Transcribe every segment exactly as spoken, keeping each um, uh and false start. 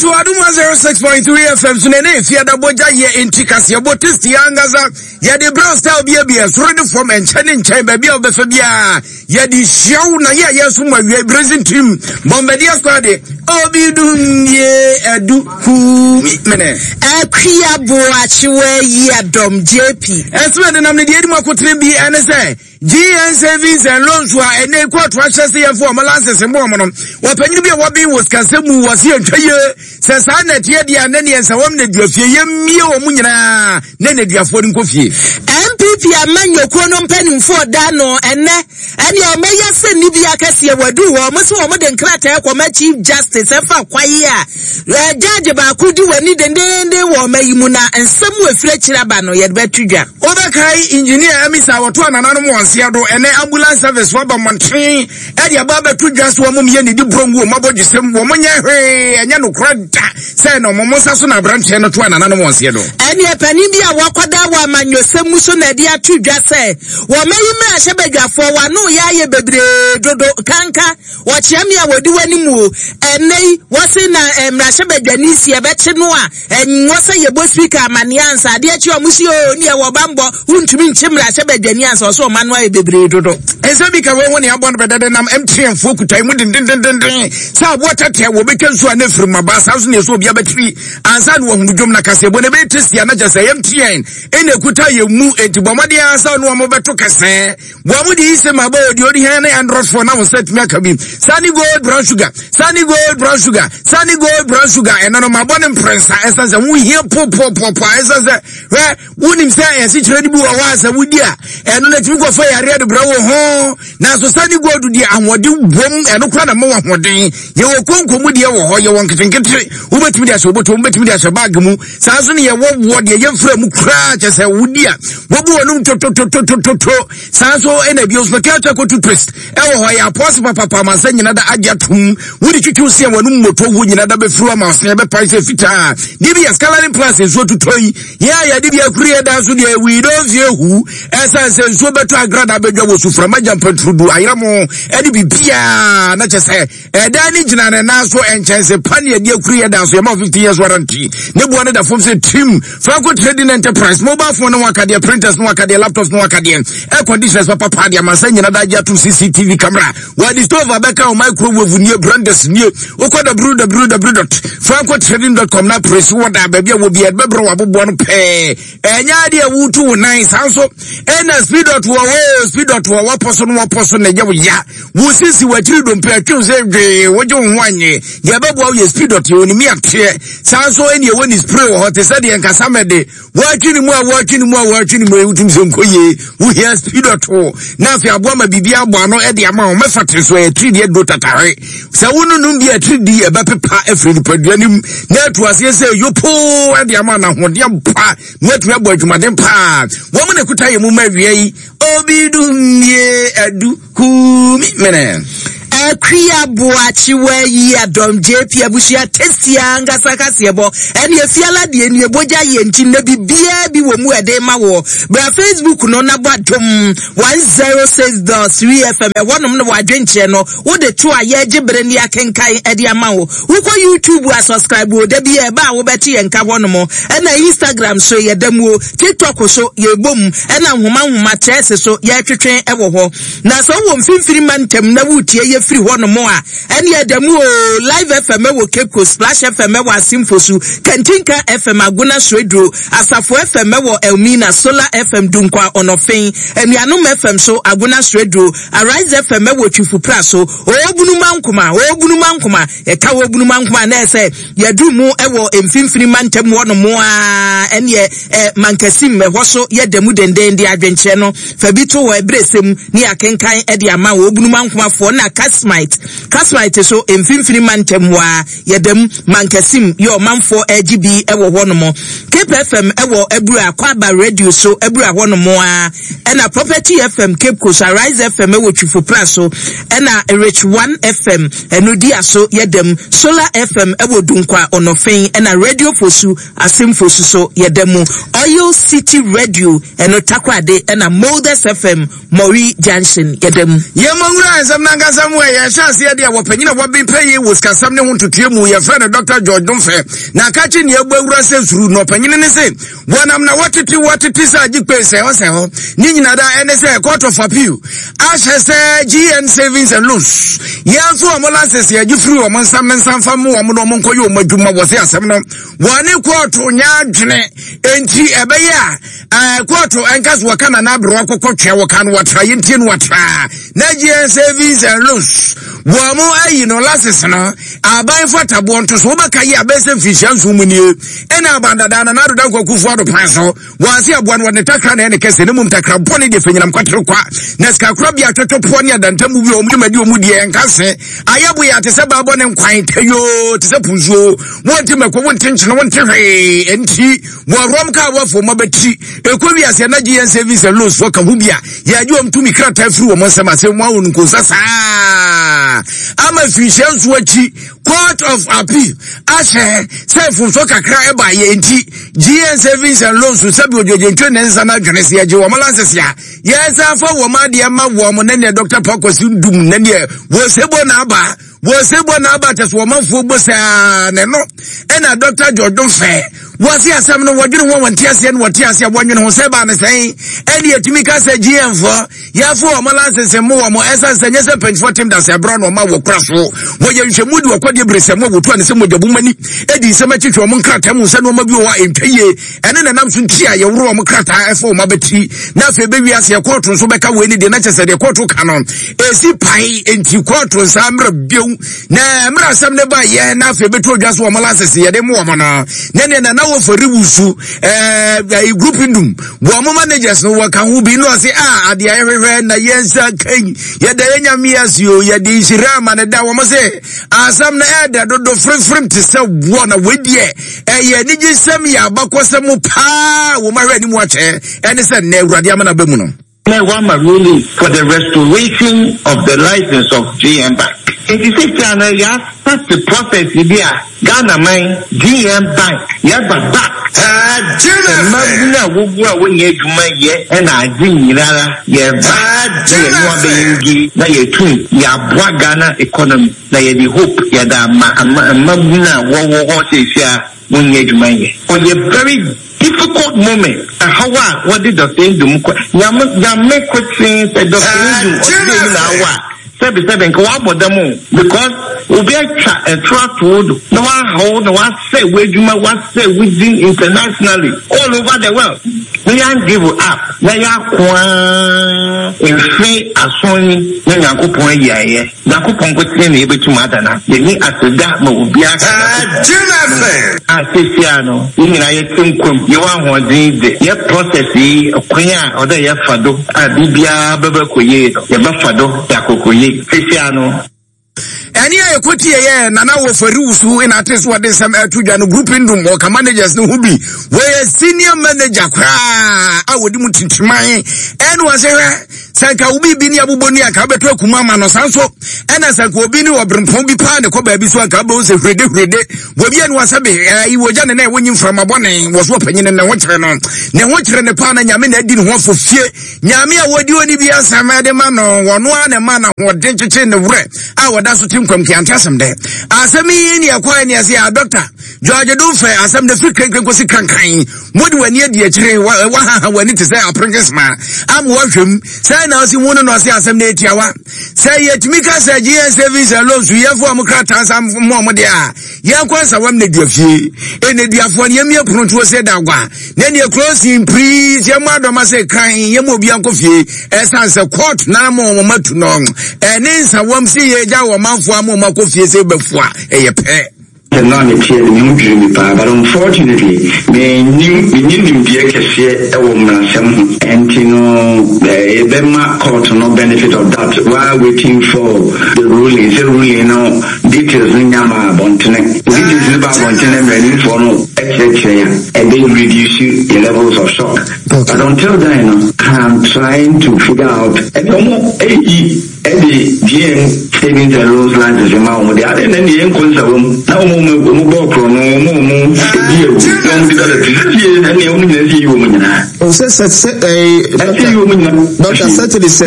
Yɛto Adom one oh six point three F M so na ɛne Efiada bɔgya yɛ nti kaseɛbɔ tasty ankasa yɛde brown style biabia soro ne fam, ɛnkyɛn ne nkyɛn, baabi a wobɛfa biara yɛde hyia wo na yɛ a yɛ so mu awia bracing team Bombardier squad obi dum ye adu kumi mene. Akua Boakyewa yi adɔm J P. Ɛsɛ de nam ne deɛ edi mu akotene bi ɛne sɛ G N Savings and Loans a ɛnɛ kóòtù ahyɛ sɛ yɛmfo ɔmo license mbɔ ɔmo no, wɔpanyin bi a wɔbɛn wɔ sikasɛm mu wɔ se yɛntwa yie sɛ saa na ɛteɛ deɛ a ne neɛ nsɛ wɔm na fie yɛmmie wɔn nyinaa ne nneduafoɔ no nkɔ fie. N P P amanyɔkuo no mpanimfoɔ da no ɛnɛ ɛne ɔmɛyɛ sɛ nni bi akɛseɛ wadu hɔ. Ɔmo sɛ ɔmo de nkrataa kɔma Chief Justice ɛfa kwae a ɛ gyaagye baako di w'ani dendenden wɔ ɔma yi mu na nsɛm wɔ efiri akyire aba no yɛde bɛto dwa. Wobɛkae engineer Amisa a wɔto anananom wɔn nseɛ do. Ɛnɛ ambulance service wɔba mmɔnten ɛde aba abɛto dwa so wɔn yɛ ne di burongu wɔn abɔdwesɛm wɔn nyɛ hwee, ɛnyɛ nokorɛ da sɛ na wɔn nsa so na aberanteɛ no to anananom wɔn nseɛ do. Ɛne panin bi a wakɔda wɔ amanyɔsɛm mu so na ɛde ato dwa sɛ wɔmayi mmarahyɛbadwafoɔ wano yɛ ayɛ bebree dodo kanka wɔkyea me a wɔdi w'anim o. Ɛnɛ yi wɔse na eh, mmarahyɛbadwani si ɛbɛkye no a ɛnwɔ sɛ yɛbɔ Speaker amanneɛ ansa adeɛ akyi. Ɔmo si o ne ɛwɔ bambɔ wontumi nkye mmarahyɛbadwani ansa ɔsɛ ɔma no ayɛ bebree dodo. Ɛnsɛ bi ka wɔn ho ne abɔ no bɛdɛdɛ nam M T N foɔ kuta mu dendendenden sɛ aboɔ tɛtɛ wɔbɛtwa nsuo a ne firi mu aba saa nso ne ɛsɛ obi abɛtiri ansa na wɔhunu dwom na kaseɛbɔ no ɛbɛyɛ tasty a na kyɛ sɛ M T N ɛna ɛkuta yɛ mu, enti bɔ mmɔden ara sɛ ɔne wɔn bɛto kɛsɛɛ wɔn mo de yi sɛ ma bɔ odi odi hɛn ne Android phone na wɔn nsa tumi aka bi. Sani Gold Brown Sugar, Sani Gold Brown Sugar, Sani Gold Brown Sugar, ɛno no ma bɔ ne mprɛnsa ɛsan sɛ wohia popopopo ɛsan sɛ hwɛ wonim sɛ ɛsikyerɛ no bi wɔ hɔ a sɛ wodi a ɛno no atumi kɔfa yareɛ de brɛ wo ho, nanso Sani Gold deɛ ahoɔden wom, ɛno kora na ma wɔ ahoɔden. Yɛwɔ konko mu deɛ wɔ hɔ, yɛwɔ nketenkete, wobɛtumi de ahyɛ wobɔtɔ, wobɛtumi de ahyɛ bag mu. Saa nso ne yɛwɔ woɔ deɛ yɛmfrɛ mu koraa kyɛ sɛ wodi a wɔbu wɔnom totototototo. Saa nso ɛna bio Special Charcoal toothpaste ɛwɔ hɔ, yɛ apɔse papapa ama sɛ nyina da agye atom. Wode twitwiw seɛ wɔnom mmɔtɔ wo nyina da bɛfiri ama ɔseɛ bɛpae sɛ fitaa. Deɛ bi yɛ Scalarin Plus nsuo tutɔ yi yɛn a yɛde bi akuri yɛ dan so deɛ we don't fear who, ɛsiane sɛ nsuo bɛtɔ agrada bɛdwa wɔ suframa gyampaturudu ayerɛ mo ɛde biribiaa na kyɛ sɛ ɛdan ne gyina ne nan so nkyɛnse pa ne yɛde akuri yɛ dan so. Yɛma fifteen years warranty ne boa ne da fam sɛ tim. Franco Trading Enterprise, mobile phone ne wakadeɛ, printers ne wakadeɛ, laptops ne wakadeɛ, air conditioners papapa deɛ amansa nyina da agye atom, C C T V camera, wɔde stove abɛka wo, microwave nie, blenders nie. Wokɔ W W W dot francotrading dot com na press wɔ da baabi a wɔ bi ɛbɛbrɛ wɔ aboboa no pɛɛ, ɛnyɛ adeɛ a wotu wo nan. Saa nso ɛna Speed dot wɔ hɔ, Speed dot wɔ wɔpɔ so no wɔpɔ so na ɛyɛ wo ya wo sisi w'akyiri dompe atwew sɛ dwee wogye wo ho anye deɛ ɛbɛboa wo yɛ Speed dot yɛ onim ateɛ. Saa nso ɛne ɛwɔ ne spray wɔ hɔ te sɛ deɛ nkasa mɛde wɔatwi ne mu a wɔatwi ne mu a wɔatwi ne mu a wotum sɛ nkɔ yie, wohia Speed dot na afei aboa ma biribi abɔ ano ɛde ama wo mɛfa te so ɛyɛ tiri deɛ do tatare sɛ wononum bi a tiri di ɛbɛpepa afiri nipadua no mu na atu aseɛ sɛ yopoo ɛde ama no ahoɔden pa na watumi abɔ adwumaden paa. Wɔn mu na kuta yɛ mu ma awia yi obi dum nie adu kumi mene. Akua Boakyewa yi adɔm J P abusua tasty ankasa kaseɛbɔ ɛne efiala deɛ nie bogya yɛ nti na biribiara bi wɔ mu ɛde ma wɔ bra Facebook no na bɔ Adom one oh six dot three F M, ɛhɔnom no wɔadwenkyerɛ no wode to a yɛgye bere ne akenkan ɛde ama wo. Wokɔ YouTube a subscribe o, da bi ɛba a wobɛte yɛn nka hɔnom. Ɛna Instagram so yɛda mu o, TikTok so yɛbɔ mu, ɛna nhoma nhoma kyerɛse so yɛtwetwe ɛwɔ hɔ. Na sɛ wowɔ Mfimfini ma ntɛm na wotie yɛ firi hɔnom a ɛne ɛda mu o. Live F M ɛwɔ Cape Coast, Splash F M ɛwɔ Asimfosu, Kantinka F M Agona Soeduro, Asafo F M ɛwɔ Elmina, Solar F M Dunkwa Ɔnɔfen, Anuanom F M so Agona Soeduro, Arise F M ɛwɔ Twifupra so, Obunuma Nkoma, Obunuma Nkoma, yɛka Obunuma Nkoma na ɛsɛ yɛduru mu ɛwɔ Mfimfini mantam hɔnom a ɛneɛ ɛ Mankasim ɛhɔ so yɛda mu denden de adwenkyerɛ no fa bi to hɔ ɛberɛ sɛm ne yɛakenkan ɛde ama wɔ Obunuma Nkomafoɔ. Na Kasmite, Kasmite so Mfimfini mantam hɔ a yɛda mu Mankasim yɛ ɔmanfoɔ agye bi ɛwɔ hɔnom. Cape F M ɛwɔ Abura Kwaba Radio so Abura hɔnom a, ɛna Property F M Cape Coast, Arise F M ɛwɔ Twifopra so, ɛna Rich One F M ɛno di aso yɛda mu, Solar F M ɛwɔ Dunkwa Ɔnɔfen, ɛna Radio Fosu Asemfosu so yɛda mu, Oil City Radio ɛno Takoradi, ɛna Molders F M Mori Junction yɛda mu. Yɛmmɔ nwura nsɛm nankasa mu. Yɛhyɛ aseɛ deɛ, wɔpanyin a wɔben pɛ yi wɔ sikasɛm ne ho ntotoe mu, yɛfrɛ no Doctor George Domfɛ, na aka kye nea ɛbɔ awura sɛ suru na ɔpanyin ne se wɔnam na wɔtete wɔtete sɛ agye kpe sɛ hɔ sɛ hɔ ne nyina da. Ɛne sɛ Court of Appeal ahyɛ sɛ G N Savings and Loans, yɛn nso wɔn license yɛgye firi wɔn nsam ne nsamfa mu wɔn na wɔn nkɔyɛ wɔn adwuma. Wɔ se asɛm no wɔne kɔɔto nyɛ adwene, enti ɛbɛyɛ a ɛɛ kɔɔto ɛnka so wɔka nana aberewa kɔkɔ twɛ wɔka no wɔtra yɛntie no wɔtra na G N Savings and Loans wɔn mo ayi no license no aban fataboɔ nto so. Wobɛka yi abɛsɛ mfinhyia nson mu nie, ɛna aban dada na nado Dankwa Akufo Ado pan so wɔn ase aboa no wɔde takra na ɛne kɛse ne mum takra bɔne deɛ fɛnyinam kwatere kwa na sikakora bi atwɛtwɛpoɔ ne adantamu bi a wɔn dwumadi wɔn deɛ ɛnka se ayɛbo yɛ ate sɛ baabɔ ne nkwan tayoo te sɛ punsuo. Wɔnte mɛko, wɔnte nkyene, wɔnte hwee, nti wɔrɔm kaa wɔafo wɔn abɛti ekɔ wiase na G N Savings and Loans fo ka ho bi a yɛagye wɔn tumi krataa firi wɔn nsɛm ase wɔn awɔ nkonsa saa ama mfinhyia nso akyi. Court of Appeal ahyɛ sɛ mfomso kakra ɛba yɛ nti G N Savings and Loans, sɛbi ogyegyentwe ne nsa no adwene sɛ yɛgye wɔn license a yɛnsa fa wɔn adeɛ ma wɔn. Ne neɛ Doctor Pakwasi Dum ne neɛ wɔsɛbɔ n'aba wɔsɛbɔ n'aba kyɛ so wɔmanfoɔ bɔ saa ne no. Ɛna Doctor George Fɛ wɔse asɛm no wɔdwene ho, wɔnte aseɛ no wɔte aseɛ, wɔnwene ho sɛ baa ne sɛn ɛne yɛtumi ka sɛ G N foɔ yɛafo wɔn license mu wɔn, ɛsiane sɛ nyɛ sɛ mpanyinfoɔ tem da sɛ ɛberɛ na ɔma wɔ kora so wɔyɛ nhwɛmu de wɔkɔdeɛ bere sɛ mo a wɔtu ane sɛ mogya mani ɛdi nsɛm akyitwe wɔn nkrataa mu sɛ nneɛma bi wɔ hɔ a ɛntwa yie, ɛne nanam so nti a yɛworo wɔn krataa ɛfa wɔn abɛti. Na afei bɛwi aseɛ kɔɔto nso bɛka wei ne deɛ na kyɛ sɛ deɛ kɔɔto ka no ɛsi pae, enti kɔɔto nsa mmerɛ bio na mmerɛ asɛm ne ba yɛ na afei bɛtu odwa so wɔn license yɛde mu wɔn no na neɛ nana wɔfɔri wusu ɛɛ group ndum wɔn mo managers no wɔka ho bi na ɔse a adeɛ ayɛhwehwɛ na yɛn nsa kan yɛda yɛn Nyame ase o, yɛde nhyira ama ne da. Wɔn sɛ asɛm no ɛɛdɛ dodo firifiri te sɛ woɔ na wɔadiɛ ɛyɛ anigye sɛm, yɛ abakɔsɛm paa wɔn ahwɛ anim akyɛ ɛne sɛ nnɛ Awurade ama no aba mu no. Wama ruling for the restoration of the license of G N Bank. Nti sisi ano yɛ start the process bi a Ghana man G N Bank yɛba back. Mmabunu a wogu a wonyɛ adwuma yɛ ɛna adze nyinara yɛba na yɛne abɛyɛ ngi na yɛtum yɛaboa Ghana economy na yɛde hope yɛde ama ama mmabunu a wɔwɔ hɔ sisi a wonyɛ adwuma yɛ. Ɔyɛ very difficult moment ɛhaw a wɔde Doctor Ndum kɔ Nyame Nyame kotin sɛ Doctor Ndum ɔde eyi na awa a sɛbi sɛbi nka wabɔ dɛm o, because obi atwa ɛtoro ato wo do na wahaw na wasɛ w'adwuma, wasɛ wo din internationally all over the world, na yɛn give up na yɛakoa mfe ason yi na Nyankopɔn ayi ayɛ. Nyankopɔn nkotsee na yɛbɛtum adana yɛni aseda ma obiara a sesia no yɛn nyinaa yɛte nkwam, yɛwɔ ahoɔden de yɛ process yi kwan a ɔdɛ yɛfa do a biribiara bɛbɛ kɔ yie no, yɛbɛfa do yɛakɔkɔ yie sesia no. Ɛne a yɛkɔtie yɛ Nana Wɔfari Wusu ɛna ate so wɔde nsɛm ɛto dwa no. Group Ndum wɔka managers no ho bi, wɔyɛ senior manager koraa a wɔde mu tintiman. Ɛne wɔ sɛ hwɛ sɛ nka wo biribi ne abobɔ ni anka wobɛtɔ akuma ama no saa nso, ɛna sɛ nka obi ne ɔberempɔn bi paa ne kɔ baabi so anka wobɛhu sɛ hwirede hwirede wɔbi ane wɔ sɛ be ɛyi wɔgya ne na ɛwɔ nyi mframa bɔne wɔ so. Ɔpanyin ne ho kyerɛ no, ne ho kyerɛ ne paa na Nyame na adi ne ho afɔ fie. Nyame a wɔdi oni bi asɛm ɛde ma no, wɔno a ne ma na ahoɔden kyekye ne werɛ a wɔda so te nkwam kiante asɛm dɛ asɛm yi ne ɛkɔɛ ne ɛsɛ a Doctor George Domfɛ asɛm de firi krenkren kɔsi kankan mode w'ani adi akyire, wahaha w'ani te sɛ aprenkesma ama wahwɛm sɛ na ɔsi hu no na ɔse asɛm no ɛtiawa sɛ yɛtumi ka sɛ G N Savings and Loans yɛfo a mo krataa nsa mo ɔmo deɛ a yɛnkɔ Nsawam na dua fie ɛna duafoɔ no yɛmie pono sɛ da agwa na neɛ closing prii sɛ yɛmmɔ adɔma sɛ kran yɛma obi ankɔ fie, ɛsiane sɛ court na ma ɔmo matu no ɛne Nsawam sɛ yɛgya wɔ manfoɔ ama ɔmo akɔ fie sɛ bɛfo a ɛyɛ pɛ. No a meteɛ no, meho dwiri me paa, but unfortunately mennim menni nimdeɛ kɛseɛ ɛwɔ mmarasɛm ho, ɛnti no yɛbɛma court no benefit of that while waiting for the ruling, sɛ ruling no details no nya ma abɔntene, details no ba abɔntene, mmaranimfoɔ no ɛkyerɛkyerɛ a ɛbɛ reduce the levels of shock, but until then no, I'm trying to figure out ɛne ɔmo ɛyi ɛde G N Savings and Loans license ma wɔn de ade na deɛ nkɔ Nsawam na wɔn wɔn bɔ korɔ no, wɔn wɔn edi ewu na wɔn de dada ti sɛ ɛne wɔn nyinaa si yi wɔn nyinaa. Sɛ sɛ sɛ ɛɛ doctor, certainly sɛ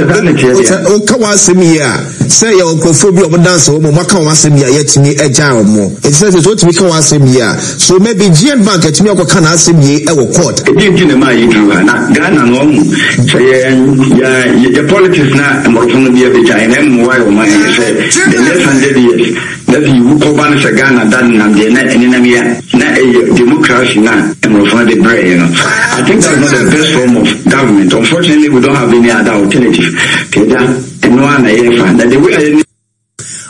woka wɔn asɛm yi a, sɛ yɛ nkurɔfoɔ bi a wɔn dansa wɔn mu, wɔn aka wɔn asɛm yi a, yɛtumi agya wɔn. Eti sɛ sɛ wotumi ka wɔn asɛm yi a, so maybe G N Bank atumi akɔka n'asɛm yi ɛwɔ court. Ebi nti na maa yɛ duru ha na Ghana no, ɔmo sɛ yɛ yɛ yɛ politics na mmorɔfo no bi abɛgya yɛn na mmoa yɛ ɔman yɛ sɛ the next hundred years na sɛ yiwu kɔba no sɛ Ghana da nenam deɛ na ɛnenam yi a, na ɛyɛ democracy na mmorɔfo no de brɛ yɛ no. I think that's not the best form of government. Unfortunately, we don't have any other alternative. Kɛgya ɛno a na yɛfa na the way a yɛ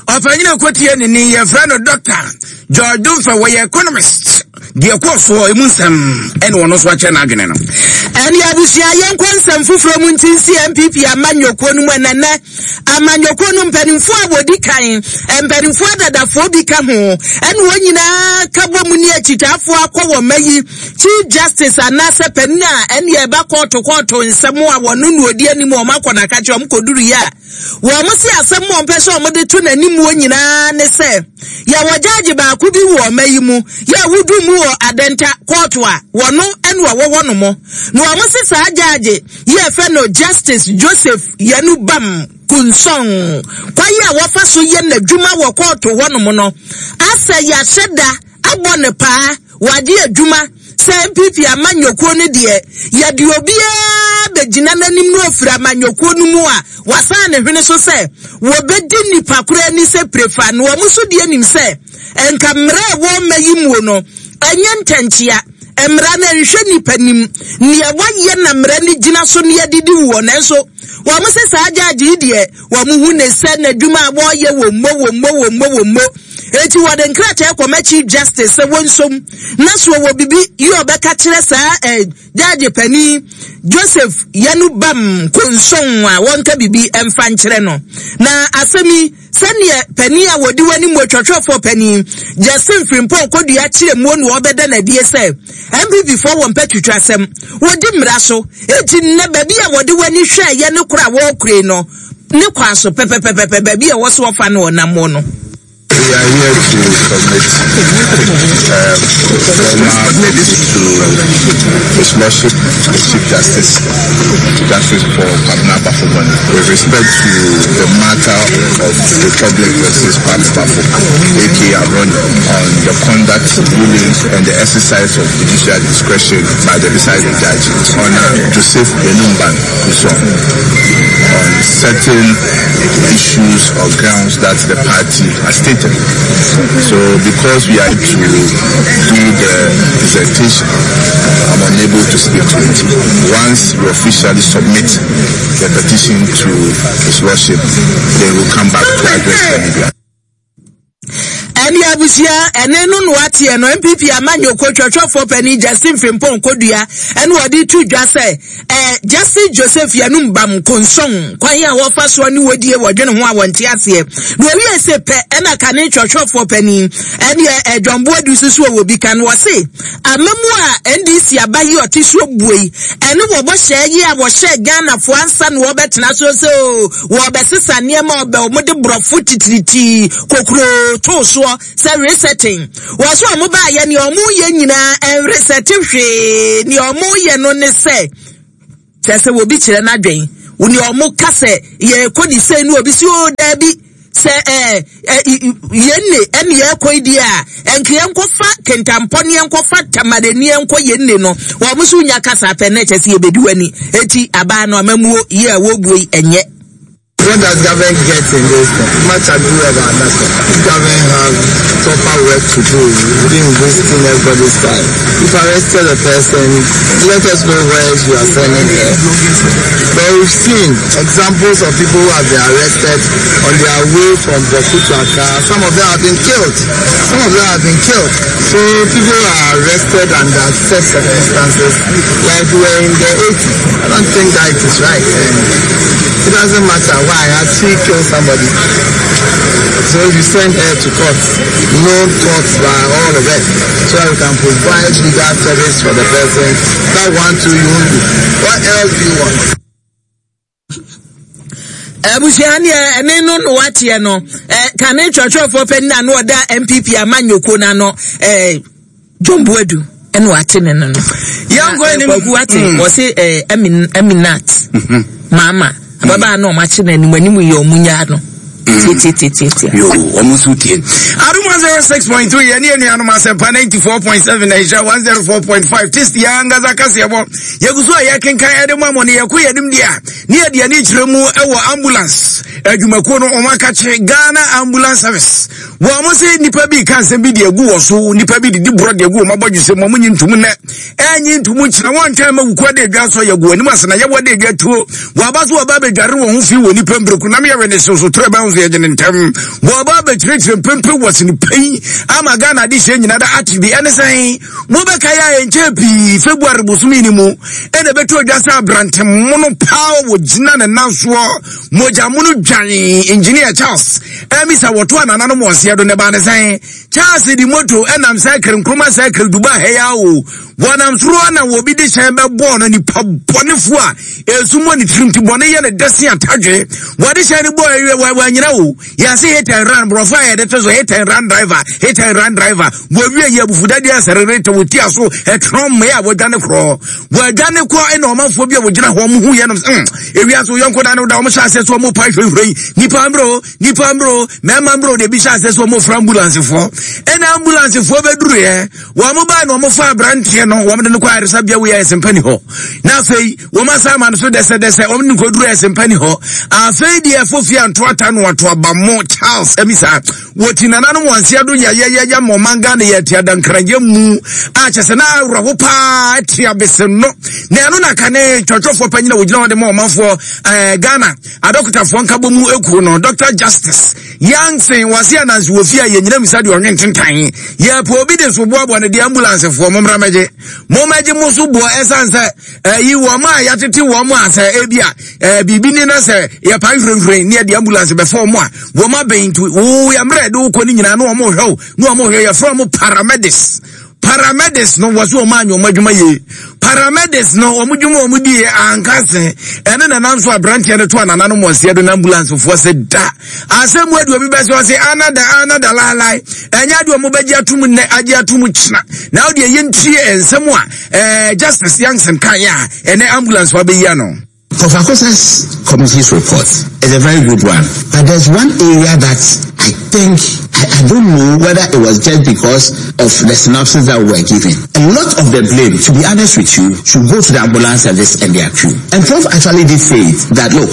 Ɔpanyin kotie ne ni, yɛfrɛ no Doctor George Domfɛ, wɔyɛ economist. Deɛ kɔɔ soɔ emu nsɛm ɛne wɔn nso akyɛ n'adwene no. Ɛne abusua, yɛnkɔ nsɛm foforɔ mu. Nti nsi N P P amanyɔkuo no mu, ɛnɛnɛ amanyɔkuo no mpanimfoɔ a wɔdi kan, mpanimfoɔ adadafoɔ bi ka ho, ɛne wɔn nyinaa ka bɔ mu ne akyitaafoɔ akɔ wɔn ma yi Chief Justice anaasɛ panin a ɛne ɛba kɔɔto kɔɔto nsɛm a wɔn no odi anim. Wɔn akɔ n'akakyɛ, wɔn kɔduru yi a, wɔn si asɛm a wɔn pɛ sɛ wɔn de to n'anim wɔ nyinaa ne sɛ yɛwɔ judge baako bi wɔ ɔma yi mu yɛ wudu mu wɔ Adenta kɔɔto a wɔno ɛna wɔwɔ hɔ nom, na wɔn si saa judge yi yɛfɛ no Justice Joseph Yanu Bam Kunsɔn, kwayi a wɔfa so yɛ n'adwuma wɔ kɔɔto hɔ nom no, asɛ yɛahyɛ da abɔ ne paa wagye adwuma sɛ N P P amanyɔkuo no deɛ, yɛde obiara bɛgyina n'anim na ofiri amanyɔkuo no mu a, wasan ne hwene so sɛ wɔbɛdi nipa koro ani sɛ prefa. Na wɔn nso deɛ nim sɛ nka mmerɛ a ɛwɔ mma yi muo no, ɛnyɛ ntɛnkyea mmara no nhwɛ nipa nim nea wayɛ na mmara no gyina so ne yɛdedi wɔ. Nanso wɔn sɛ saa judge yi deɛ, wɔn hu ne sɛ n'adwuma a wɔreyɛ wɔ mmo wɔ mmo wɔ mmo wɔ mmo. Eti wɔde nkrataa kɔma Chief Justice sɛ wɔnsom na so wɔ bibi yi ɔbɛka kyerɛ saa ɛ judge panin Joseph Yanu Bam Konson a wɔnka bibi mfa nkyerɛ no. Na asɛm yi, sɛneɛ panin a wɔdi w'anim wɔ twɛtwɛfoɔ panin Justin Frimpong Kodua kyerɛ muo na wɔbɛda n'adie sɛ N P P foɔ wɔ mpɛ twitwa asɛm, wɔdi mmara so. Eti nnɛ baabi a wɔde w'ani hwɛ yɛ ne koro a wɔrekure no ne kwan so pɛpɛpɛpɛ, baabi a ɛwɔ so wɔfa no ɔnam no. We are here to submit um, formal petition to His Lordship, the Chief Justice, Justice Paul Kwabena Baffoe-Bonnie, with respect to the matter of Republic versus Kwame Baffoe, A K A Abronye, on the conduct, rulings, and the exercise of judicial discretion by the presiding judge, on Joseph Benumban Kuson, on certain issues or grounds that the party has stated. So because we are to do the presentation, I'm unable to speak to it. Once we officially submit the petition to His Lordship, then we'll come back to address the media. Ɛne abusua, ɛne no no ateɛ no, N P P amanyɔkuo twɛtwɛfoɔ panin Justin Frimpong Kodua ɛne wɔde to dwa sɛ ɛɛ Justice Joseph Yanum Bam Konsɔn kwan a wɔfa soɔ ne wɔdie wɔdwene ho a wɔnte aseɛ. Na owie sɛ pɛ ɛna kane twɛtwɛfoɔ panin ɛne ɛdwɔnboa du soso wɔ bi ka no, wɔse amamu a N D C aba yi ɔte soɔ bue yi, ɛne wɔbɔ hyɛ yi a wɔhyɛ Ghanafoɔ ansa na wɔbɛtena so sɛ o wɔbɛsesa nneɛma ɔbɛ wɔn de borɔfo titiritii kokuroo too soɔ sɛ resetting. Wɔso ɔmo baayɛ nea ɔmo yɛ nyinaa ɛnresɛte hwee. Nea ɔmo yɛ no ne sɛ kyerɛ sɛ obi kyerɛ n'adwen, nea ɔmo ka sɛ yɛkɔ ne sɛ no, obi si o daabi, sɛ ɛɛ ɛ yɛn ne ɛne yɛkɔ yi deɛ a, ɛnka yɛnkɔfa kentampɔ ne yɛnkɔfa Tamale ne yɛnkɔ yɛn ne no. Wɔn nso nya kasa apɛ ne kyɛ sɛ yɛbɛdi w'ani. Eti abaa no amamuo yie a wɔbuo yi ɛnyɛ. What does government get in this thing? Much ado about nothing. Government have proper work to do within wasting everybody's time. If arrested a person, let us know where you are sending her. But we've seen examples of people who have been arrested on their way from Bawku to Accra. Some of them have been killed. Some of them have been killed. So people are arrested under such circumstances like we were in the eighties. I don't think that it is right. And it doesn't matter why. Has she killed somebody? So if you send her to court, known courts by all of us, so that we can provide legal service for the person. That one too you won't do. What else do you want? Abusua, neɛ ɛne no no wateɛ no, ɛ kane twerɛtwerɛfoɔ panin a no ɔda N P P amanyɔkuo n'ano, ɛ John Boadu. Ɛna wate ne no no. Yɛnkɔ anim. Kwaku wate Mm. wɔse eh, Amin Aminat maama ababaa na ɔmo akye no anim anim yɛ ɔmo nyaa no. Tietietie. Yo, ɔmo nso tie. Adum one zero six point three yɛne anuanom Asɛmpa ninety four point seven Asia one zero four point five Tist yɛn ankasa kaseɛbɔ. Yɛgu so a yɛkenkan ɛde mu amɔ ne yɛkɔ yɛnim deɛ a ne yɛde ani kyerɛ mu ɛwɔ ambulance adwumakuo no ɔmo akakye Ghana Ambulance Service. Wɔn mo se nipa bi ka nsɛm bi de agu wɔ so, nipa bi didi borɔ de agu wɔn abɔdwesɛ mu, wɔn nyi ntum nnɛ. Ɛnyi ntum kyerɛ wɔn ntwɛn ma wukuo de adwa so yɛ gu anim ase na yɛwɔ de adwa tuo. Wɔaba so wɔba abɛdware wɔn ho fi wɔ nipa mbereku nam yɛwɛ ne so so toro ɛbɛn so yɛgye ne ntɛm. Wɔba abɛkyerɛkyerɛ mpempe wɔ sini pɛn ama Ghana de hyɛ nyina da ate bi ɛne sɛn mobɛka yɛ a ɛnkyɛ pii February bosome ni mu ɛna ɛbɛtɔ dwa sɛ aberante mono paa wɔ gyina ne nan soɔ mogya mono dwan engineer Charles ɛmisa wɔto anananom wɔseɛ do ne ba ne sɛn Charles di moto ɛnam sɛ Nkrumah sɛ Dubai ha ya o wɔnam soro na wɔbi de hyɛn bɛbɔɔ no nipa bɔnefoɔ a ɛsu mmɔ ne tirim ti bɔne yɛ ne dɛse atadwe wɔde hyɛn no bɔɔ ɛwiɛ wɔanyina o yɛase hit and run borɔfo a yɛde to so hit and run driver hit and run driver wɔwie yɛ abufudadeɛ asɛrere wɔti aso ɛtrɔn mmea a wɔdwane korɔ wɔadwane kɔ ɛna ɔmanfoɔ bi a wɔgyina hɔ ɔmo hu yɛ nom mm ewia so yɔnko da no da ɔmo hyɛ aseɛ so ɔmo pa hwehwɛ nipa mbro nipa mbro mmarima mbro de bi hyɛ aseɛ so ɔmo fra ambulancefoɔ ɛna ambulancefoɔ bɛduru yɛ wɔn mo baa na ɔmo fa aberanteɛ no wɔn de no kɔ ayaresabea wei ayɛ sɛmpa ni hɔ na afei wɔn asa ama no so dɛsɛdɛsɛ wɔn de no kɔduru ayɛ sɛmpa ni hɔ afei deɛ fofi anto ata no ato abamo Charles ɛmi saa wɔti nananom wɔn nsia do yɛyɛyɛyɛ ma ɔman Ghana yɛ te adankranyɛ mu a kyɛ sɛ na awerɛho paa te abese no na ɛno na kane twɔtwɔfoɔ panyin a wɔgyina hɔ de ma ɔmanfoɔ ɛɛ Ghana adɔkotafoɔ nkabɔ mu ekuo no Doctor Justice Yansen wɔse anansi wɔ fie a yɛnyina misa deɛ ɔnwe ntentan yɛpɛ obi de so boaboa no deɛ ambulancefoɔ mommra mɛgye mommɛgye mo so boɔ ɛsiane sɛ ɛyi wɔn a yɛatete wɔn a sɛ ebi a ɛɛ biribi ni na sɛ yɛpa nhwirenhwiren ne yɛde ambulance bɛfa wɔn a wɔn abɛn nti wo yɛmmerɛ de wokɔ ne nyinaa na wɔn hwɛ wo na wɔn hwɛ yɛfrɛ wɔn paramedics paramedics no wɔ so wɔn anyɛ wɔn adwuma yie paramedics no wɔn dwuma wɔn di yɛ ankase ɛne nanam so aberanteɛ no to anananom wɔn seɛ do na ambulancefoɔ sɛ da asɛm mu adi obi bɛ sɛ ɔsɛ anada anada laalae ɛnyɛ adi wɔn bɛgye atum nnɛ agye atum kyena na ɔde ɛyɛ ntie nsɛm a ɛɛ Justice Yankson kan yɛ a ɛnɛ ambulance wa bɛyi ano. Professor Akosa's committee's report is a very good one, but there's one area that I think, I, I don't know whether it was just because of the synopsis that we were given. A lot of the blame, to be honest with you, should go to the ambulance service and their crew. And Prof actually did say it, that look,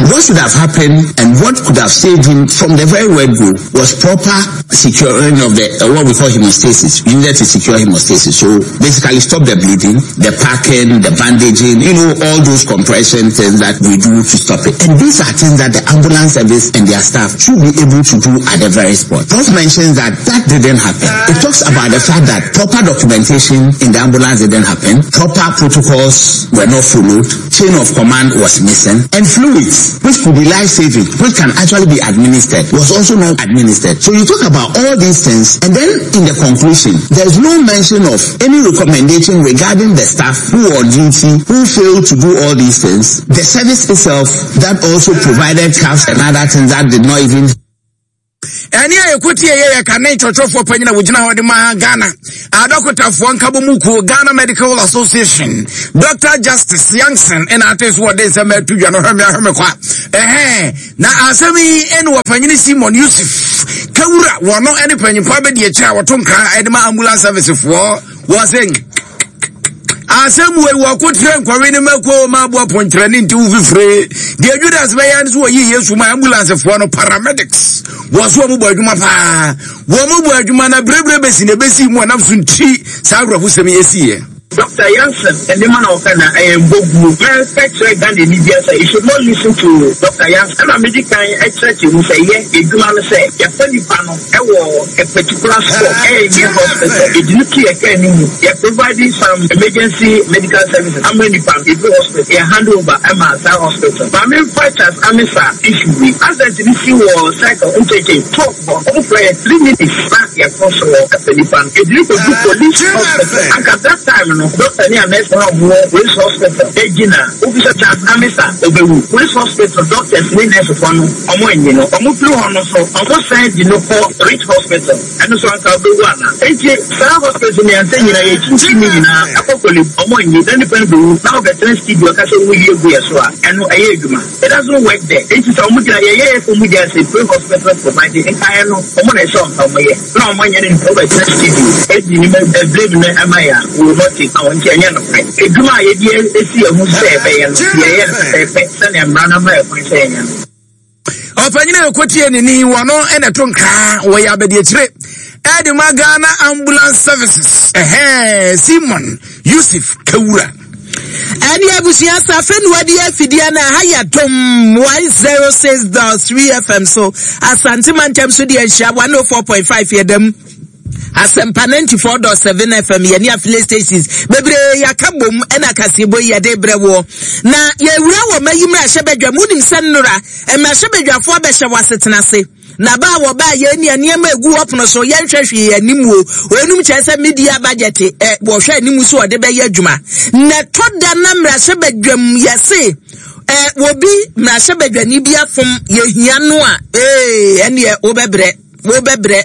what should have happened and what could have saved him from the very word go was proper securing of the, uh, what we call hemostasis. You needed to secure hemostasis. So basically stop the bleeding, the packing, the bandaging, you know, all those compression things that we do to stop it. And these are things that the ambulance service and their staff should be able to do at the very spot. Prof mentions that that didn't happen. It talks about the fact that proper documentation in the ambulance didn't happen, proper protocols were not followed, chain of command was missing, and fluids, which could be life-saving, which can actually be administered, was also not administered. So you talk about all these things, and then in the conclusion, there's no mention of any recommendation regarding the staff who were on duty, who failed to do all these things, the service itself that also provided cuffs and other things that did not even ɛne a yɛkɔtie yɛ yɛ kane twɔtwɔfoɔ panyin a wɔgyina hɔ de ma Ghana adɔkotafoɔ nkabɔ mu kuo Ghana Medical Association Doctor Justice Yankson ɛna ate so wɔde nsɛm atu dwa no hwɛme ahwɛme kwa ɛhɛn na asɛm yi ɛne wɔpanyini Simon Yusuf Kawura wɔno ɛne panyimfoɔ abɛdi akyire a wɔto nkra ɛde ma ambulance service foɔ wɔ sɛ asɛm wei wɔko tire nkɔwe ne mako ma aboa pɔnkyerɛne nti wo fifire deɛ Judas bɛyɛ no so wɔyi Yesu ma ambulancefoɔ no paramedics wɔ so wɔn bɔ adwuma paa wɔn bɔ adwuma na berebere bɛsi na ebesi mu a nam so nti saa awerɛhosɛm yi esiiɛ. Doctor Yansen, and the man of Ghana, I am Bogu. Manufacturer Ghana media say you should not listen to Doctor Yansen. And I'm medical expert who say, yeah, the human say, your funny panel, a particular spot, a hospital, it didn't care any. You're providing some emergency medical services. How many pounds? If hospital, you hand over Emma Hospital. But I mean, fighters, I mean, sir, issue. As the C was cycle, interchange, talk for three minutes back, your possible at the pan. If you could do police hospital, and at that time, no, doctor ne a nurse a wɔwɔ Police Hospital gyina wobisa Charles Amisa ɔbɛwu. Police Hospital doctors ne nursefoɔ no ɔmo anyi no. Ɔmo firi hɔ no so ɔmo san di no kɔ Ridge Hospital, ɛno so anka ɔbɛwu ana? Enti saa hospital mmiɛnsa nyinaa yɛkyinkyim ne nyinaa ɛkɔ Korle ɔmo anyi na nipa no bɛwu na wɔbɛtena studio ɔka sɛ woyi egu yɛ so a, ɛno ɛyɛ adwuma? It doesn't work there. Enti sɛ ɔmo gyina yɛyɛ yɛ sɛ ɔmo gyina sɛ pre hospital providing nkaeɛ no, ɔmo na ɛsɛ ɔnka ɔmo yɛ na ɔmo anyɛ no, nipa wɔbɛtena studio edi ne blame no ɛma yɛ a, we will not take wɔn. Nti ɛnyɛ nokorɛ. Edwuma a yɛde esi yɛn ho sɛ ɛbɛyɛ no, yɛyɛ no pɛpɛɛpɛ sɛnea mmara no ama yɛ kwan sɛ yɛnyɛ no. Ɔpanyin a ɛkɔtie ne ni wɔ no ɛna ɛto nkraa wɔyɛ abadiakyire ɛde ma Ghana Ambulance Services, ɛhɛn, Simon Yusuf Kawura. Ɛne abusua safe no wadi afidie no ha yɛ Dom one oh six point three F M so, Asante mantam so deɛ nhyia one oh four point five, yɛdam Asɛmpa ninety-four point seven F M, yɛne affiliate stations bebree yɛaka bom ɛna kaseɛbɔ yi yɛde brɛ woɔ. Na yɛwura wɔ mayi mmarahyɛbadwa mu. Wonim sɛ nnora mmarahyɛbadwafoɔ bɛhyɛ wɔ asetena ase na ba a wɔba yɛn ni nneɛma egu hɔ pono so, yɛnhwɛ hwee anim o. Wɔnum kyerɛ sɛ mid-year budget ɛ wɔhwɛ anim so wɔde bɛyɛ adwuma na ɛtɔ da na mmarahyɛbadwam yɛse ɛ wɔbi mmarahyɛbadwani bi afom yɛhia no a, ee, ɛneɛ wobɛbrɛ wobɛbrɛ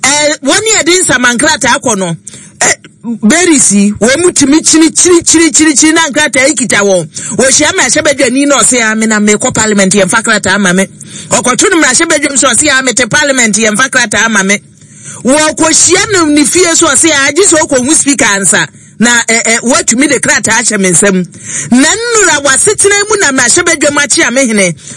ɛ wɔn yɛde nsamankrataa kɔ no ɛ berisi wɔn mu tumi kyini kyini kyini kyini kyini na nkrataa yi kita wɔn. Wɔhyia mmarahyɛbadwani na ɔse, "Ame na mekɔ parliament, yɛmfa krataa ama me." Ɔkɔto no mmarahyɛbadwam so, ɔse, "Ame te parliament, yɛmfa krataa ama me." Wɔkɔhyia no ne fie so, ɔse, "Agye sɛ ɔkɔhu speaker ansa na ɛ ɛ wɔatumi de krataa ahyɛ me nsam." Na nnura w'asetena mu na mmarahyɛbadwam akye ame hene.